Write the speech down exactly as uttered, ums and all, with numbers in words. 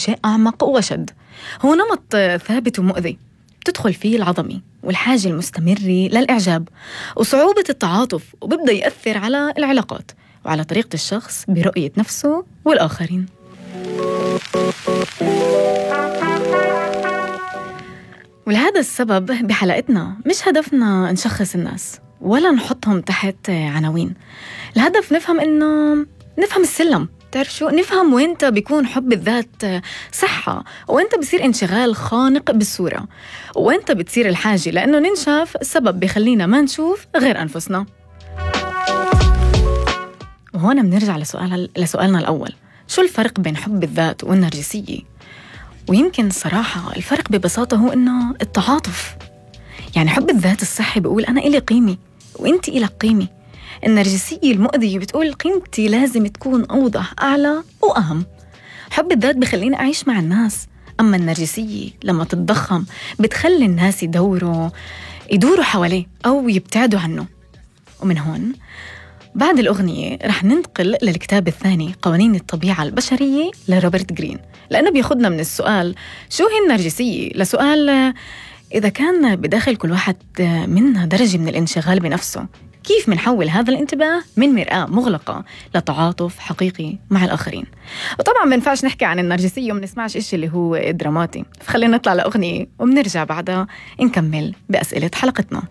شيء أعمق وأشد. هو نمط ثابت ومؤذي تدخل فيه العظمة والحاجة المستمرة للإعجاب وصعوبة التعاطف، وببدأ يأثر على العلاقات وعلى طريقة الشخص برؤية نفسه والآخرين. ولهذا السبب بحلقتنا مش هدفنا نشخص الناس ولا نحطهم تحت عناوين. الهدف نفهم إنه نفهم السلم، تعرف شو؟ نفهم وينت بيكون حب الذات صحة، وينت بصير انشغال خانق بالصورة، وينت بتصير الحاجة لأنه ننشاف سبب بيخلينا ما نشوف غير أنفسنا. وهنا بنرجع لسؤال لسؤالنا الأول، شو الفرق بين حب الذات والنرجسية؟ ويمكن صراحة الفرق ببساطة هو إنه التعاطف. يعني حب الذات الصحي بيقول أنا إلي قيمة وإنتي إلك قيمة. النرجسية المؤذية بتقول قيمتي لازم تكون أوضح، أعلى وأهم. حب الذات بخليني أعيش مع الناس، أما النرجسية لما تتضخم بتخلي الناس يدوروا يدوروا حواليه أو يبتعدوا عنه. ومن هون بعد الأغنية رح ننتقل للكتاب الثاني قوانين الطبيعة البشرية لروبرت جرين، لأنه بياخدنا من السؤال شو هي النرجسية لسؤال إذا كان بداخل كل واحد منا درجة من الانشغال بنفسه، كيف منحول هذا الانتباه من مرآة مغلقة لتعاطف حقيقي مع الآخرين. وطبعا ما ينفعش نحكي عن النرجسية وما نسمعش إشي اللي هو دراماتي، فخلينا نطلع لأغنية وبنرجع بعدها نكمل بأسئلة حلقتنا.